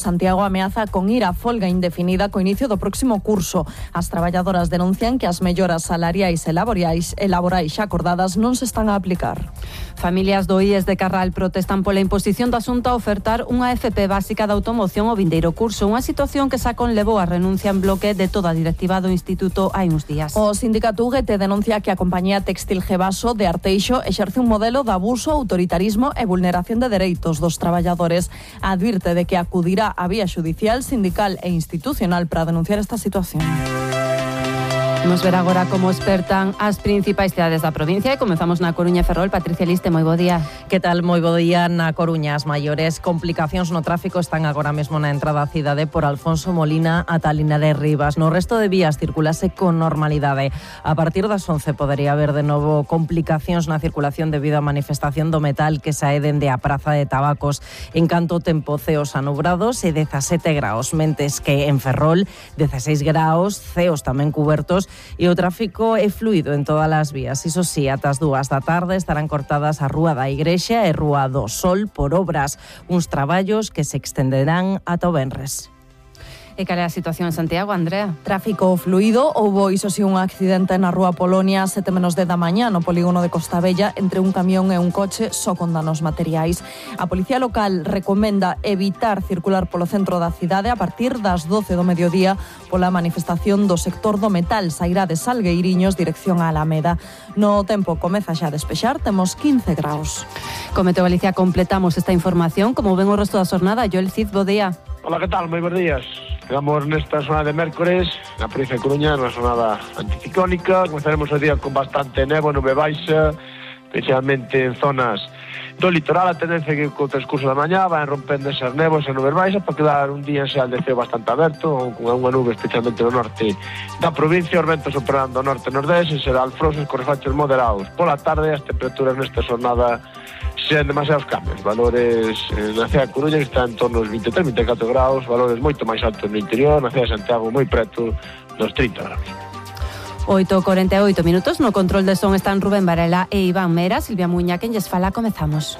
Santiago ameaza con ir a folga indefinida co inicio do próximo curso. As traballadoras denuncian que as melloras salariais e laborais xa acordadas non se están a aplicar. Familias do IES de Carral protestan pola imposición da Xunta a ofertar unha FP básica de automoción ao vindeiro curso, unha situación que Sacón levou a renuncia en bloque de toda a directiva do Instituto hai uns días. O sindicato UGT denuncia que a compañía textil Gevaso de Arteixo exerce un modelo de abuso, autoritarismo e vulneración de dereitos dos traballadores. Advirte de que acudirá á vía xudicial, sindical e institucional para denunciar esta situación. Vamos ver agora como expertan as principais cidades da provincia e comezamos na Coruña e Ferrol. Patricia Liste, moi bo día. Que tal? Moi bo día. Na Coruña, as maiores complicacións no tráfico están agora mesmo na entrada á cidade por Alfonso Molina ata Linares Rivas. No resto de vías circulase con normalidade. A partir das 11 podería haber de novo complicacións na circulación debido á manifestación do metal que sae dende a Praza de Tabacos. En canto tempo, ceos anubrados e 17 graos, mentes que en Ferrol 16 graos, ceos tamén cubertos. E o tráfico é fluido en todas as vías. Iso sí, ata as 2 da tarde estarán cortadas a Rúa da Igrexa e Rúa do Sol por obras, uns traballos que se extenderán ata o venres. E cal é a situación en Santiago, Andrea? Tráfico fluido. Houbo, iso sí, un accidente na Rúa Polonia 7 menos 10 da mañá no polígono de Costa Bella entre un camión e un coche só con danos materiais. A Policía Local recomenda evitar circular polo centro da cidade a partir das 12 do mediodía pola manifestación do sector do metal. Sairá de Salgueiriños dirección a Alameda. No tempo comeza xa a despexar, temos 15 graus. Con Meteo Galicia completamos esta información. Como ven o resto da xornada, Joel Cid, bo día. Hola, que tal? Moi bons días. Quedamos nesta zona de mércores, na provincia de Coruña, na jornada anticiclónica. Comenzaremos o día con bastante nevo, nube baixa, especialmente en zonas do litoral. A tendencia que co transcurso da mañá van rompendo esas nevos e nubes baixas para quedar un día en xeral de ceo bastante aberto, con unha nube especialmente no norte da provincia. Os ventos operando norte e nordeste, en xeral frosos con refachos moderados. Pola tarde, as temperaturas nesta jornada sen demasiados cambios. Valores na cidade de Coruña que están en torno aos 23-24 graus, valores moito máis altos no interior, na cidade de Santiago moi preto dos 30 graus. 8:48 minutos, no control de son están Rubén Varela e Iván Mera. Silvia Muña, quen lles fala, comezamos.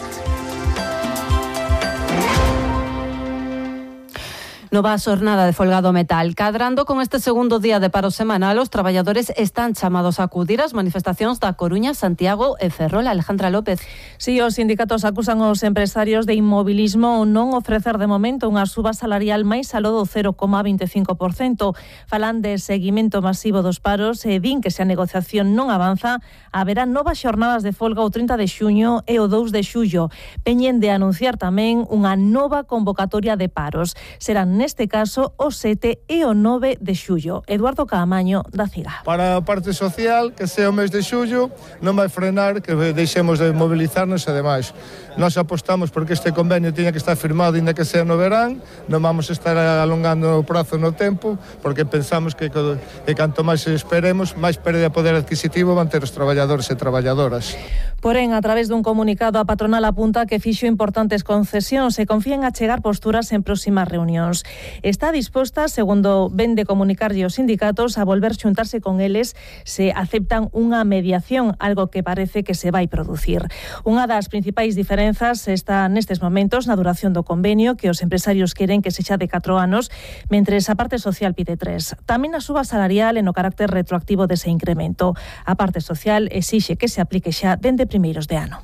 Nova xornada de folga do metal. Cadrando con este segundo día de paro semanal, os traballadores están chamados a acudir ás manifestacións da Coruña, Santiago e Ferrol. Alejandra López. Si, os sindicatos acusan os empresarios de inmobilismo ou non ofrecer de momento unha suba salarial máis aló do 0,25%. Falan de seguimento masivo dos paros e din que se a negociación non avanza, haberá novas xornadas de folga o 30 de xuño e o 2 de xullo. Peñen de anunciar tamén unha nova convocatoria de paros. Serán neste caso o 7 e o 9 de xullo. Eduardo Caamaño, da CIGA. Para a parte social, que sea o mes de xullo, non vai frenar que deixemos de mobilizarnos e demais. Nós apostamos porque este convenio tiña que estar firmado ainda que sea no verán, non vamos a estar alongando o prazo no tempo, porque pensamos que canto máis esperemos, máis pérdida de poder adquisitivo van ter os traballadores e traballadoras. Porén, a través dun comunicado, a patronal apunta que fixo importantes concesións e confía en achegar posturas en próximas reunións. Está disposta, segundo ven de comunicarlle os sindicatos, a volver xuntarse con eles se aceptan unha mediación, algo que parece que se vai producir. Unha das principais diferenzas está nestes momentos na duración do convenio, que os empresarios queren que sexa de 4 anos, mentres a parte social pide 3. Tamén a suba salarial e no carácter retroactivo dese incremento. A parte social exixe que se aplique xa dende primeiros de ano.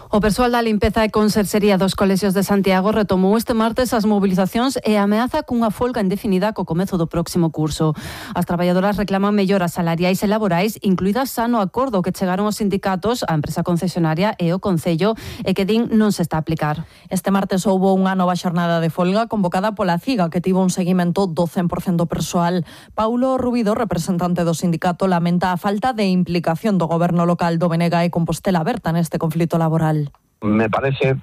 O persoal da limpeza e conserxería dos colexios de Santiago retomou este martes as mobilizacións e ameaza cunha folga indefinida co comezo do próximo curso. As traballadoras reclaman melloras salariais e laborais, incluídas xa no acordo que chegaron os sindicatos, a empresa concesionaria e o Concello, e que din non se está a aplicar. Este martes houbo unha nova xornada de folga convocada pola CIGA, que tivo un seguimento do 100% persoal. Paulo Rubido, representante do sindicato, lamenta a falta de implicación do goberno local do Benega e Compostela Berta neste conflito laboral. Me parece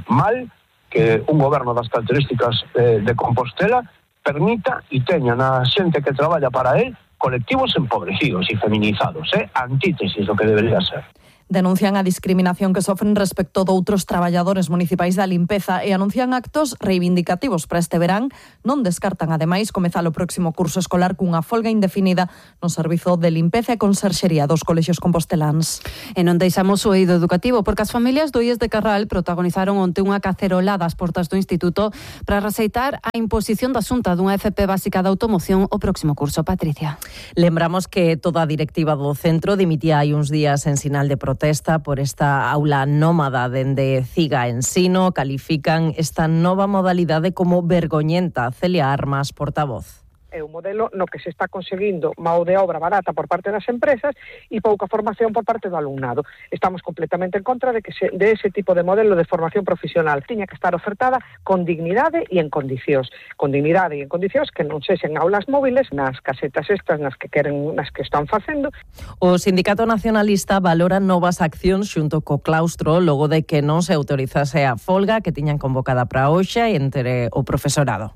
mal que un goberno das características de Compostela permita e teña na xente que traballa para él colectivos empobrecidos e feminizados, antítesis do que debería ser. Denuncian a discriminación que sofren respecto de outros traballadores municipais da limpeza e anuncian actos reivindicativos para este verán. Non descartan, ademais, comezar o próximo curso escolar cunha folga indefinida no servizo de limpeza e conserxería dos colexios composteláns. E non deixamos o eido educativo, porque as familias do IES de Carral protagonizaron onte unha cacerolada ás portas do instituto para receitar a imposición da Xunta dunha FP básica de automoción o próximo curso. Patricia. Lembramos que toda a directiva do centro dimitía hai uns días en sinal de protesta por esta aula nómada dende Ciga Ensino. Califican esta nova modalidade como vergoñenta. Celia Armas, portavoz. É un modelo no que se está conseguindo mão de obra barata por parte das empresas e pouca formación por parte do alumnado. Estamos completamente en contra de ese tipo de modelo de formación profesional. Tiña que estar ofertada con dignidade e en condicións. Con dignidade e en condicións que non sexen aulas móviles nas casetas estas nas que están facendo. O Sindicato Nacionalista valora novas accións xunto co claustro logo de que non se autorizase a folga que tiñan convocada para hoxe entre o profesorado.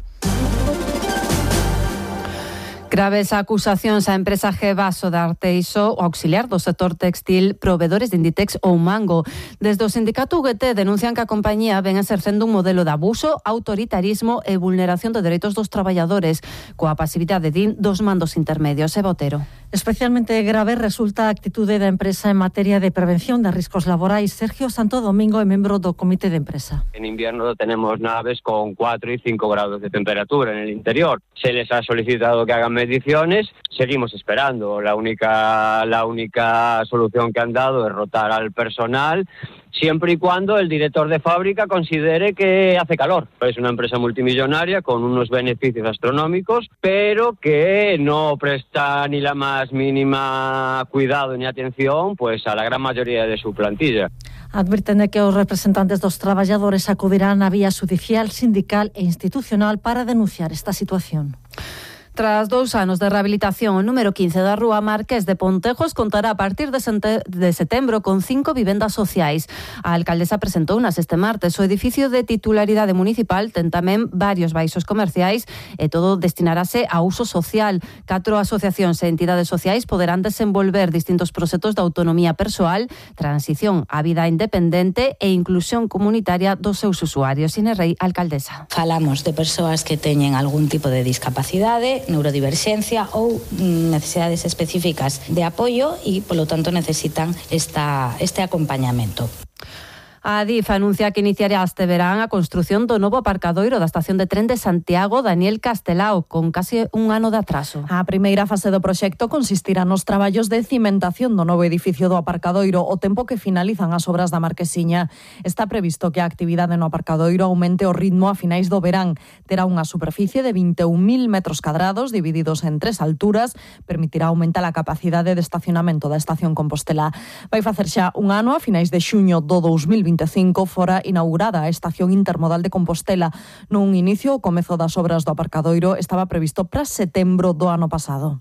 Graves acusacións á empresa Gevaso de Arteixo, o auxiliar do sector textil, provedores de Inditex ou Mango. Desde o sindicato UGT denuncian que a compañía ven exercendo un modelo de abuso, autoritarismo e vulneración de dereitos dos traballadores, coa pasividade dos mandos intermedios. Botero. Especialmente grave resulta a actitude da empresa en materia de prevención de riscos laborais. Sergio Santo Domingo é membro do comité de empresa. En invierno tenemos naves con 4 y 5 grados de temperatura en el interior. Se les ha solicitado que hagan mediciones, seguimos esperando. La única solución que han dado es rotar al personal, siempre y cuando el director de fábrica considere que hace calor. Es una empresa multimillonaria con unos beneficios astronómicos, pero que no presta ni la más mínima cuidado ni atención pues a la gran mayoría de su plantilla. Advirten de que os representantes dos traballadores acudirán á vía judicial, sindical e institucional para denunciar esta situación. Tras 2 anos de rehabilitación, o número 15 da Rúa Marqués de Pontejos contará a partir de setembro con 5 vivendas sociais. A alcaldesa presentounas este martes. O edificio de titularidade municipal ten tamén varios baixos comerciais e todo destinarase a uso social. 4 asociacións e entidades sociais poderán desenvolver distintos proxectos de autonomía persoal, transición á vida independente e inclusión comunitaria dos seus usuarios. Inés Rei, alcaldesa. Falamos de persoas que teñen algún tipo de discapacidade, neurodiverxencia ou necesidades específicas de apoio e, polo tanto, necesitan este acompañamento. A Adif anuncia que iniciará este verán a construción do novo aparcadoiro da estación de tren de Santiago Daniel Castelao, con case un ano de atraso. A primeira fase do proxecto consistirá nos traballos de cimentación do novo edificio do aparcadoiro, o tempo que finalizan as obras da Marquesiña. Está previsto que a actividade no aparcadoiro aumente o ritmo a finais do verán. Terá unha superficie de 21.000 metros cadrados divididos en 3 alturas, permitirá aumentar a capacidade de estacionamento da estación Compostela. Vai facer xa un ano, a finais de xuño do 2025, fora inaugurada a estación intermodal de Compostela. Nun inicio, o comezo das obras do aparcadoiro estaba previsto para setembro do ano pasado.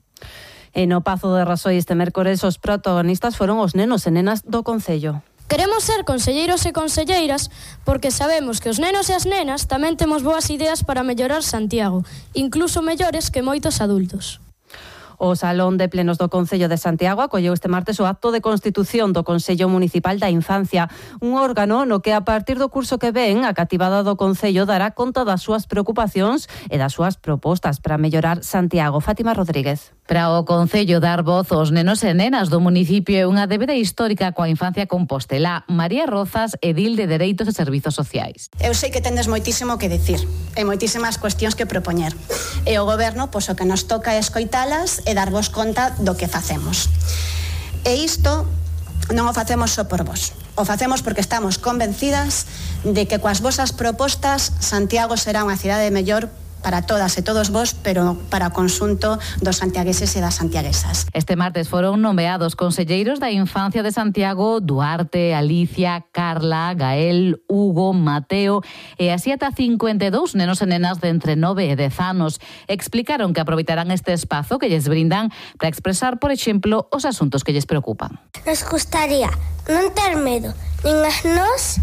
E no Pazo de Rasoi este mércores os protagonistas foron os nenos e nenas do concello. Queremos ser conselleiros e conselleiras porque sabemos que os nenos e as nenas tamén temos boas ideas para mellorar Santiago, incluso mellores que moitos adultos. O Salón de Plenos do Concello de Santiago acolleu este martes o acto de constitución do Consello Municipal da Infancia, un órgano no que a partir do curso que ven a cativada do Concello dará conta das súas preocupacións e das súas propostas para mellorar Santiago. Fátima Rodríguez. Para o Concello dar voz aos nenos e nenas do municipio é unha débeda histórica coa infancia Compostela. María Rozas, edil de Dereitos e Servizos Sociais. Eu sei que tendes moitísimo que dicir e moitísimas cuestións que propoñer. E o Goberno, pois o que nos toca é escoitalas e darvos conta do que facemos. E isto non o facemos só por vos. O facemos porque estamos convencidas de que coas vosas propostas Santiago será unha cidade mellor para todas e todos vos, pero para o conxunto dos santiagueses e das santiaguesas. Este martes foron nomeados conselleiros da infancia de Santiago Duarte, Alicia, Carla, Gael, Hugo, Mateo e así ata 52 nenos e nenas de entre 9 e 10 anos. Explicaron que aproveitarán este espazo que lles brindan para expresar, por exemplo, os asuntos que lles preocupan. Nos gustaría non ter medo, nin as nós,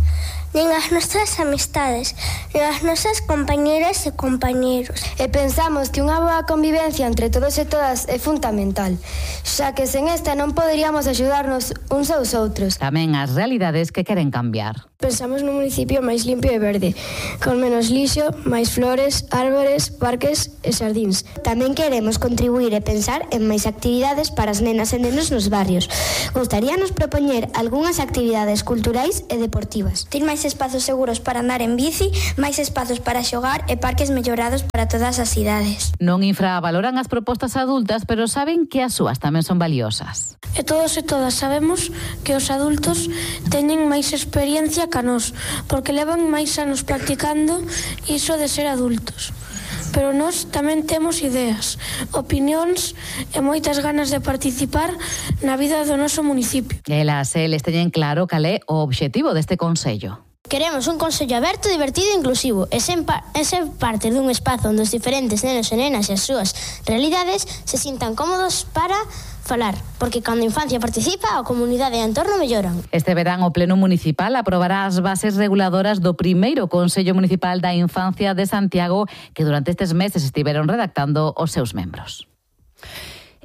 nin as nosas amistades, nin as nosas compañeras e compañeros. E pensamos que unha boa convivencia entre todos e todas é fundamental, xa que sen esta non poderíamos axudarnos uns aos outros. Tamén as realidades que queren cambiar. Pensamos nun municipio máis limpio e verde, con menos lixo, máis flores, árbores, parques e xardíns. Tamén queremos contribuir e pensar en máis actividades para as nenas e nenos nos barrios. Gustaríanos propoñer algunhas actividades culturais e deportivas. Ter máis espazos seguros para andar en bici, máis espazos para xogar e parques mellorados para todas as cidades. Non infravaloran as propostas adultas, pero saben que as súas tamén son valiosas. E todos e todas sabemos que os adultos teñen máis experiencia ca nós, porque levan máis anos practicando iso de ser adultos. Pero nós tamén temos ideas, opinións e moitas ganas de participar na vida do noso municipio. Eles teñen claro cal é o obxectivo deste consello. Queremos un consello aberto, divertido e inclusivo, e ser parte dun espazo onde os diferentes nenos e nenas e as súas realidades se sintan cómodos para falar, porque cando a infancia participa, a comunidade e o entorno melloran. Este verán o Pleno Municipal aprobará as bases reguladoras do primeiro Consello Municipal da Infancia de Santiago, que durante estes meses estiveron redactando os seus membros.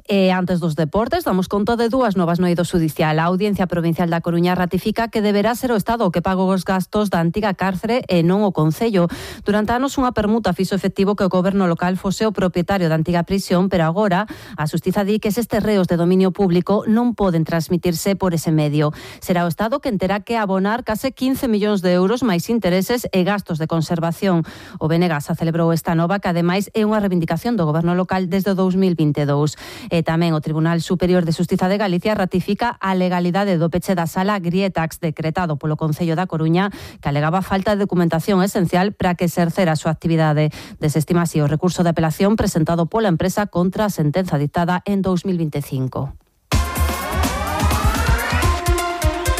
E antes dos deportes, damos conta de dúas novas no eido xudicial. A Audiencia Provincial da Coruña ratifica que deberá ser o Estado o que pague os gastos da antiga cárcere e non o Concello. Durante anos unha permuta fixo efectivo que o goberno local fose o propietario da antiga prisión, pero agora a Xustiza di que estes reos de dominio público non poden transmitirse por ese medio. Será o Estado quen terá que abonar case 15 millóns de euros máis intereses e gastos de conservación. O Benegas celebrou esta nova que ademais é unha reivindicación do goberno local desde o 2022. E tamén o Tribunal Superior de Xustiza de Galicia ratifica a legalidade do peche da sala Grietax decretado polo Concello da Coruña, que alegaba falta de documentación esencial para que exercera a súa actividade. Desestima así o recurso de apelación presentado pola empresa contra a sentenza dictada en 2025.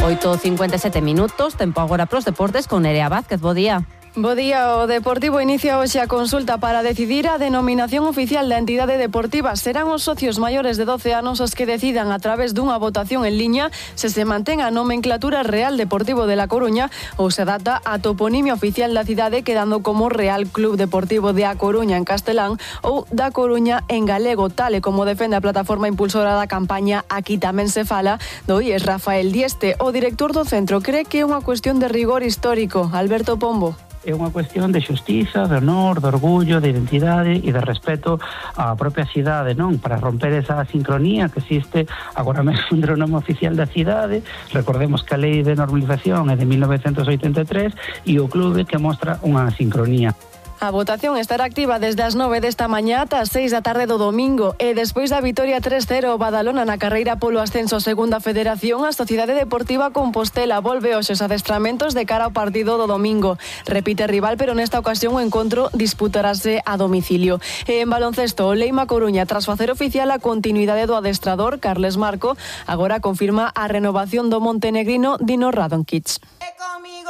8:57 minutos, tempo agora pros deportes con Nerea Vázquez. Bo día. Bo día, o Deportivo inicia hoxe a consulta para decidir a denominación oficial da entidade deportiva. Serán os socios maiores de 12 anos os que decidan a través dunha votación en liña se mantén a nomenclatura Real Deportivo de La Coruña ou se adapta a toponimia oficial da cidade quedando como Real Club Deportivo de A Coruña en castelán ou da Coruña en galego, tal e como defende a plataforma impulsora da campaña Aquí tamén se fala, do IES Rafael Dieste. O director do centro cree que é unha cuestión de rigor histórico. Alberto Pombo. É unha cuestión de xustiza, de honor, de orgullo, de identidade e de respeto á propia cidade, non? Para romper esa sincronía que existe agora mesmo entre o nome oficial da cidade. Recordemos que a lei de normalización é de 1983 e o clube que mostra unha sincronía. A votación estará activa desde as 9 desta mañá ata as 6 da tarde do domingo e despois da vitoria 3-0 o Badalona na carreira polo ascenso a Segunda Federación, a Sociedade Deportiva Compostela volve hoxe os adestramentos de cara ao partido do domingo. Repite rival, pero nesta ocasión o encontro disputarase a domicilio. E en baloncesto, o Leima Coruña, tras facer oficial a continuidade do adestrador Carles Marco, agora confirma a renovación do montenegrino Dino Radonkic.